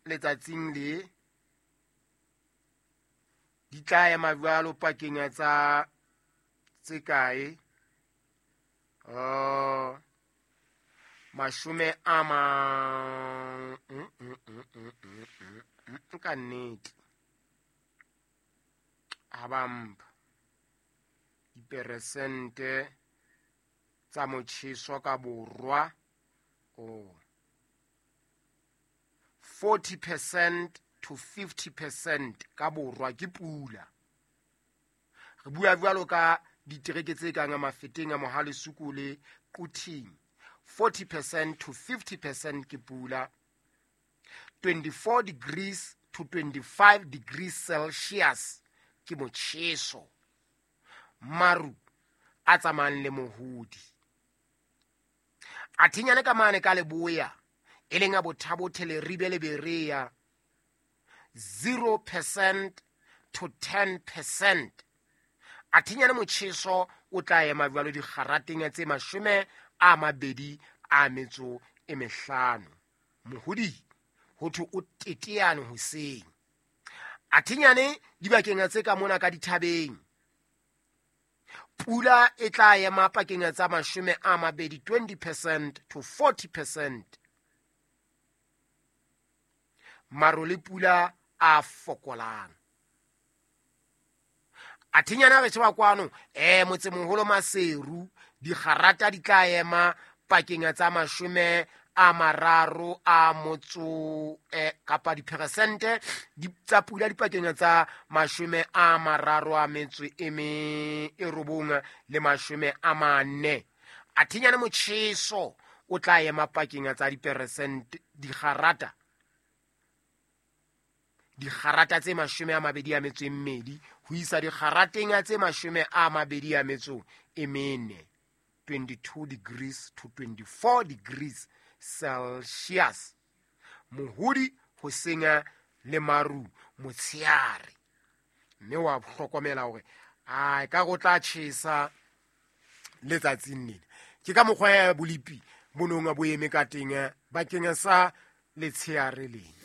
Letsatsing le di tla ema jwalo pakeng tsa tse kae? Mashome a ma ka nnete ha ba mpha diperesente tsa motjheso ka borwa, oh, 40% to 50% ka borwa ke pula. Re bua jwalo ka ditereke tse kang a Mafeteng, a Mohale's Hoek le Quthing. 40% to 50% ke pula. 24 degrees to 25 degrees Celsius ke motjheso, maru a tsamayang le mohodi. A thinyane ka mane ka leboya, e leng a Bothabothe, Leribe le Berea, 0% to 10%. A thinyane motjheso o tla ema jwalo dikgarateng tse 25. Mohodi ho thwe o teteane hoseng. A thinyane dibakeng tse ka mona ka dithabeng, pula e tla ema pakeng tsa 20, 20% to 40%. Maro le pula a fokolang. A thinyana re sheba kwano, motsemoholo Maseru, dikgarata di tla ema pakeng tsa 30 a motso, kapa diperesente tsa pula dipakeng tsa 39 le 40. A thinyane motjheso o tla ema pakeng tsa diperesente dikgarata tse 22 ho isa dikgarateng tse 24, 22 degrees to 24 degrees Celsius. Mohodi hoseng le maru motsheare. Mme wa hlokomela hore a ka go tla tjhesa letsatsing lena. Ke ka mokgwa ya bolipi bo nong bo eme ka teng bakeng sa letsheare lena.